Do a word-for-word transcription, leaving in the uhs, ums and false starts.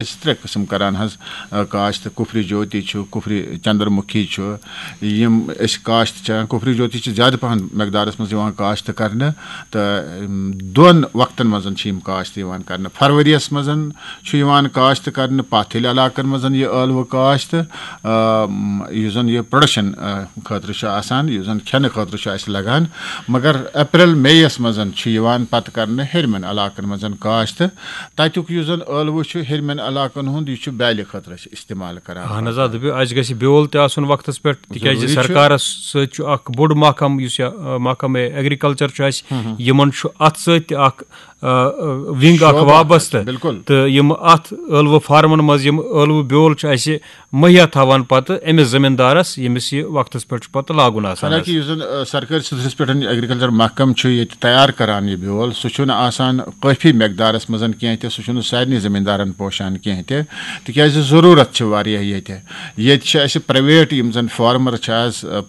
أسۍ ترٛےٚ قٕسم کران حظ، آ، کاشت۔ کُفری جوتی چھُ، کُفری چندر مُکھی چھُ، یِم أسۍ کاشت چھِ کران۔ کُفری جوتی چھِ زیادٕ پہن مقدارس منٛز یِوان کاشت کرنہٕ، تہٕ، اَم، دۄن وقتن منٛز چھِ یِم کاشت یِوان کرنہٕ۔ فرؤریَس منٛز چھُ یِوان کاشت کرنہٕ پتھ ہِلۍ علاقن منٛز یہِ ٲلوٕ کاشت، آ، یُس زن یہِ پروڈکشن، آ، خٲطرٕ چھُ آسان، یُس زن کھٮ۪نہٕ خٲطرٕ چھُ اَسہِ لگان۔ مگر اپریل مے یَس منٛز چھُ یِوان پتہٕ کرنہٕ ہیٚرمٮ۪ن علاقن منٛز کاشت۔ تَتیُک یُس زَن ٲلوٕ چھُ ہیٚرمٮ۪ن علاقَن ہُنٛد، یہِ چھُ بیٛالہِ خٲطرٕ أسۍ استعمال کران۔ اہن حظ، آ، دٔپِو، اَسہِ گژھِ بیول تہِ آسُن وقتَس پٮ۪ٹھ، تِکیٛازِ ضروٗری چھُ۔ سرکارَس سۭتۍ چھُ اَکھ بوٚڑ محکمہٕ، یُس یہِ، آ، محکمہٕ ایگریکلچر چھُ اَسہِ، ہم، ہم۔ یِمَن چھُ اَتھ سۭتۍ تہِ اَکھ، آ، آ، ونگ اَکھ شعبہٕ اَکھ وابستہٕ۔ بِلکُل۔ تہٕ یِم اَتھ ٲلوٕ فارمَن منٛز یِم ٲلوٕ بیول چھُ اَسہِ مہیا تھاوان پَتہٕ أمِس زٔمیٖندارَس، ییٚمِس یہِ وقتَس پٮ۪ٹھ چھُ پَتہٕ لاگُن آسان حالانکہ حظ۔ یُس زَن، آ، سرکٲرۍ سطحس پٮ۪ٹھ ایگریکلچر محکمہٕ چھُ ییٚتہِ تیار کران یہِ بیول، سُہ چھُنہٕ آسان کٲفی مقدارس منٛز کینٛہہ تہِ، سُہ چھُنہٕ سارنٕے زٔمیٖندارن پوشان کینٛہہ تہِ، تِکیازِ ضروٗرت چھِ واریاہ ییٚتہِ۔ ییٚتہِ چھِ اَسہِ پرائیویٹ یِم زَن فارمر چھِ آز، آ،